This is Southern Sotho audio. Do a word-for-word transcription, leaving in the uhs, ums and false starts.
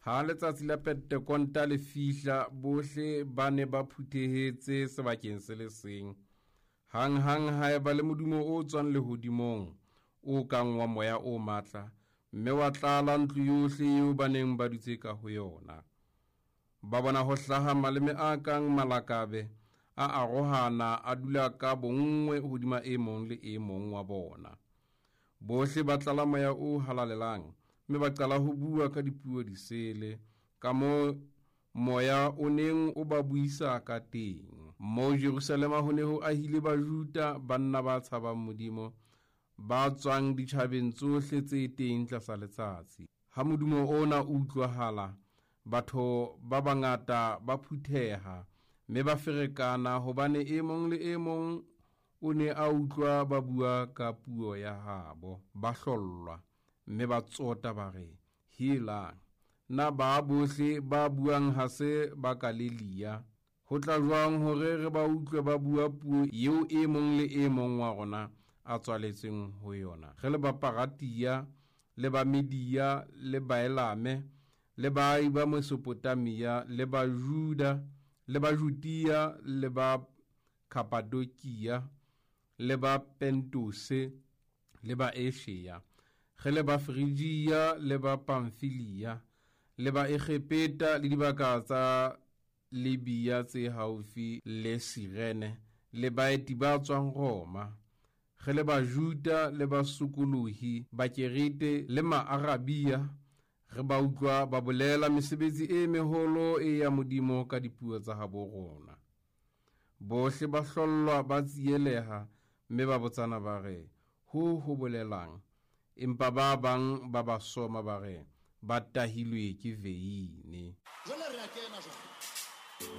Ha letsatsi la Pentekonta le fihla, bohle ba ne ba phuthehetse sebakeng se le seng. Hanghang ha eba le modumo o tswang lehodimong, o kang wa moya o matla, mme wa tlala ntlo yohle eo ba neng ba dutse ka ho yona. Ba bona ho hlaha maleme a kang malakabe, a arohana, a dula ka bonngwe hodima e mong le e mong wa bona. Bohle ba tlala moya o halalelang, mme ba qala ho bua ka dipuo disele, ka moo moya o neng o ba buisa ka teng. Moo Jerusalema ho ne ho ahile Bajuda, banna ba tshabang Modimo, ba tswang ditjhabeng tsohle tse teng tlasa letsatsi. Ha modumo ona o utlwahala, batho ba bangata ba phutheha, mme ba ferekana, hobane e mong le e mong o ne a utlwa ba bua ka puo ya habo. Ba hlollwa, mme ba tsota ba re, "Helang, na ba bohle ba buang ha se ba Galilea? Ho tla jwang hore re ba utlwe ba bua puo eo e mong le e mong wa rona a tswaletsweng ho yona? Re le ba Paratia, le ba Media, le Baelame, le baahi ba Mesopotamia, le ba Juda, le ba Judea, le ba Kapadokia, le ba Pentose, le ba Asia, re le ba Frigia, le ba Pamfilia, le ba Egepeta, le dibaka tsa Libya tse haufi le Sirene, le baeti ba tswang Roma, re le Bajuda, le basokolohi, Bakerete le Maarabia, re ba utlwa ba bolela mesebetsi e meholo e ya Modimo ka dipuo tsa habo rona." Bohle ba hlollwa, ba tsieleha, mme ba botsana ba re, "Ho ho bolelang?" Empa ba bang ba ba soma ba re, ba tahilwe ke veine. Jwale re a kena jwale.